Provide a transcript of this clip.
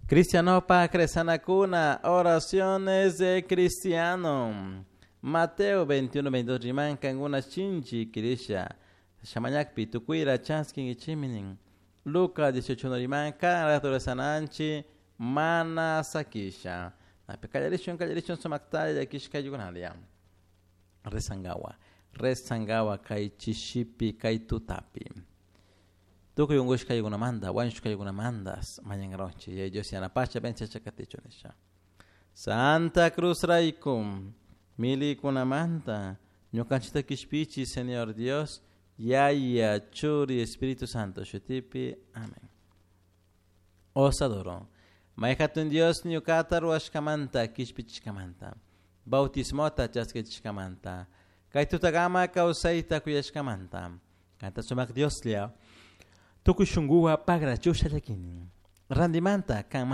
Cristianopa cresanakuna, oraciones de cristiano. Mateo 21, 22 riman kankuna shinchi kirisha. Shamañakpi tukuira chaskin ichiminin. Lucas 18 riman kan rato rezananchi mana sakisha. Napi kallarishun kallarishun sumaktalla llakishka yukunalia. Rezangawa. Rezangawa kay chishipi kay tutapi. Tukuy unkushka yukunamanta, wañushka yukunamanta mañankaronchik. Yaya Dios yanapasha vencecha katichun nisha. Santa Cruz rayku milikunamanta ñukanchikta kishpichi Señor Dios, Yaya, Churi, Espíritu Santo, shutipi. Amén. Os adoro. May hatun Dios ñukata ruwashkamanta kishpichishkamanta. Bautismota chaskichishkamanta. Kay tutagama kawsayta kuyashkamanta. Kanta sumak Dioslla. Tukuy shunkuwan pagrachusha llakini. Randimanta kan.